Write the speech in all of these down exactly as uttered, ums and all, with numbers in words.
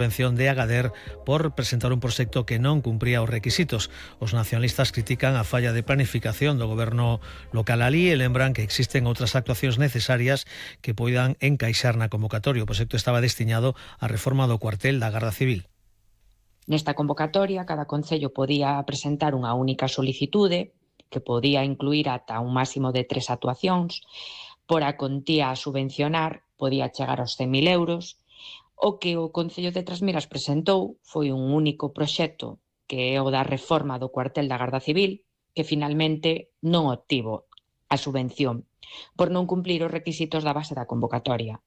Subvención de Agadir por presentar un proxecto que non cumpría os requisitos. Os nacionalistas critican a falla de planificación do goberno local alí e lembran que existen outras actuacións necesarias que poidan encaixar na convocatoria. O proxecto estaba destinado á reforma do cuartel da Garda Civil. Nesta convocatoria, cada concello podía presentar unha única solicitude que podía incluir ata un máximo de tres actuacións. Por a contía a subvencionar podía chegar aos cen mil euros. O que o Concello de Trasmiras presentou foi un único proxecto, que é o da reforma do cuartel da Garda Civil, que finalmente non obtivo a subvención por non cumplir os requisitos da base da convocatoria.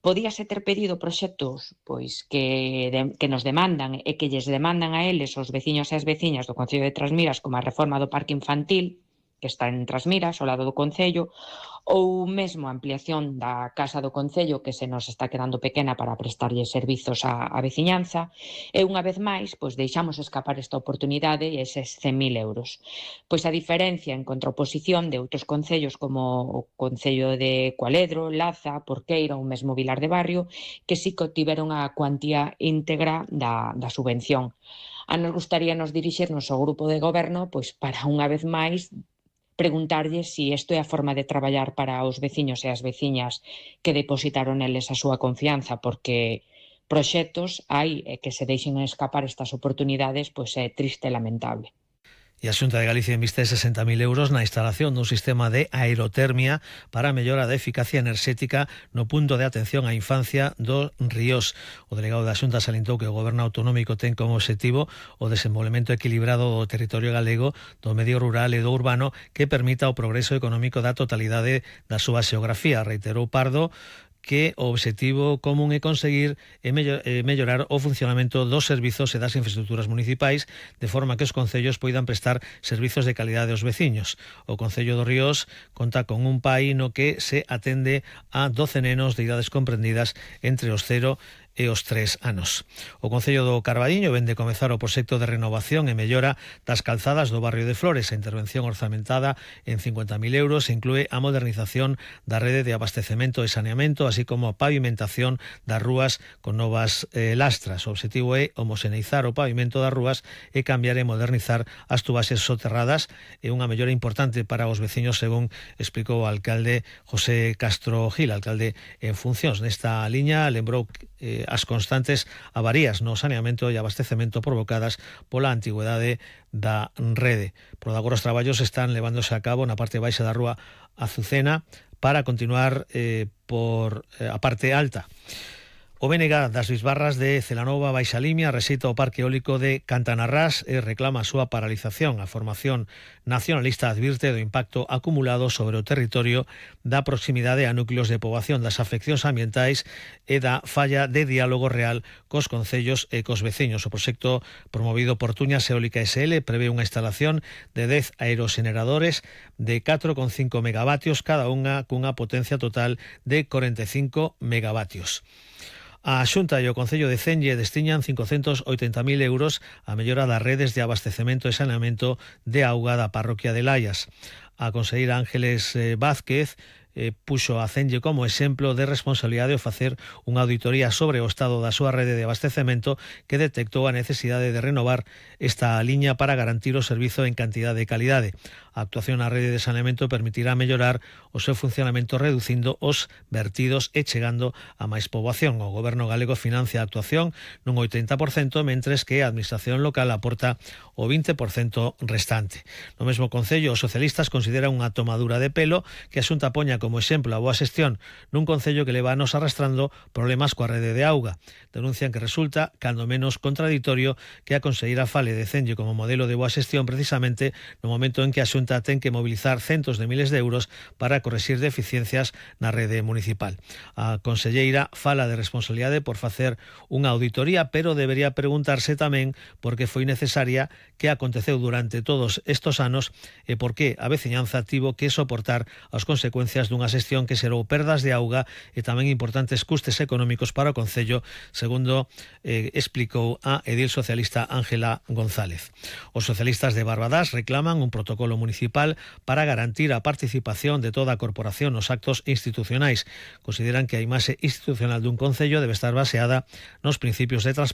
Podíase ter pedido proxectos pois que, de, que nos demandan e que lles demandan a eles os veciños e as veciñas do Concello de Trasmiras, como a reforma do parque infantil, que está en Trasmiras, ao lado do Concello, ou mesmo a ampliación da Casa do Concello, que se nos está quedando pequena para prestarlle servizos á, á veciñanza, e unha vez máis, pois deixamos escapar esta oportunidade e eses cen mil euros. Pois a diferencia en contraposición de outros concellos como o Concello de Cualedro, Laza, Porqueira ou mesmo Vilar de Barrio, que sí que obtiveron a cuantía íntegra da, da subvención. A nos gustaríanos dirixirnos ao grupo de goberno pois para unha vez máis preguntarlle se isto é a forma de traballar para os veciños e as veciñas que depositaron eles a súa confianza, porque proxectos hai e que se deixen escapar estas oportunidades, pois é triste e lamentable. E a Xunta de Galicia inviste sesenta mil euros na instalación dun sistema de aerotermia para a mellora da eficacia enerxética no punto de atención á infancia do Ríos. O delegado da Xunta salientou que o Goberno autonómico ten como obxectivo o desenvolvemento equilibrado do territorio galego, do medio rural e do urbano que permita o progreso económico da totalidade da súa xeografía. Reiterou Pardo que o obxectivo común é conseguir e mellorar o funcionamento dos servizos e das infraestructuras municipais de forma que os concellos poidan prestar servizos de calidade aos veciños. O Concello do Ríos conta con un P A I no que se atende a doce nenos de idades comprendidas entre os cero e os tres anos. O Concello do Carballiño vén de comezar o proxecto de renovación e mellora das calzadas do barrio de Flores. A intervención orzamentada en cincuenta mil euros inclúe a modernización da rede de abastecemento e saneamento, así como a pavimentación das rúas con novas eh, lastras. O obxectivo é homoxeneizar o pavimento das rúas e cambiar e modernizar as tubaxes soterradas. É unha mellora importante para os veciños, según explicou o alcalde José Castro Gil, alcalde en funcións. Nesta liña lembrou eh, as constantes avarías no saneamento e abastecemento provocadas pola antigüedade da rede. Por agora os traballos están levándose a cabo na parte baixa da rúa Azucena para continuar eh, por eh, a parte alta. O B N G das Bisbarras de Celanova Baixa Limia rexeita o parque eólico de Cantanarrás e reclama a súa paralización. A formación nacionalista advirte do impacto acumulado sobre o territorio da proximidade a núcleos de poboación, das afeccións ambientais e da falla de diálogo real cos concellos e cos veciños. O proxecto promovido por Tuñas Eólica S L prevé unha instalación de dez aeroxeneradores de catro coma cinco megavatios cada unha cunha potencia total de corenta e cinco megavatios. A Xunta e o Concello de Cenlle destiñan cincocentos oitenta mil euros a mellora das redes de abastecemento e saneamento de auga da parroquia de Laias. A conselleira Ángeles Vázquez eh, puxo a Cenlle como exemplo de responsabilidade ao facer unha auditoría sobre o estado da súa rede de abastecemento que detectou a necesidade de renovar esta liña para garantir o servizo en cantidade e calidade. A actuación na rede de saneamento permitirá mellorar o seu funcionamento reducindo os vertidos e chegando a máis poboación. O Goberno galego financia a actuación nun oitenta por cento, mentres que a Administración local aporta o vinte por cento restante. No mesmo Concello, os socialistas consideran unha tomadura de pelo que a Xunta poña como exemplo a boa xestión nun Concello que leva anos arrastrando problemas coa rede de auga. Denuncian que resulta, cando menos, contradictorio que a conselleira fale de Cenlle como modelo de boa xestión precisamente no momento en que a Xunta ten que mobilizar centos de miles de euros para correxir deficiencias na rede municipal. A conselleira fala de responsabilidade por facer unha auditoría, pero debería preguntarse tamén por que foi necesaria, que aconteceu durante todos estos anos e por que a veciñanza tivo que soportar as consecuencias dunha xestión que xerou perdas de auga e tamén importantes custes económicos para o Concello, segundo eh, explicou a edil socialista Ángela González. Os socialistas de Barbadás reclaman un protocolo municipal para garantir a participación de toda a corporación nos actos institucionais. Consideran que a imaxe institucional dun Concello debe estar baseada nos principios de transparencia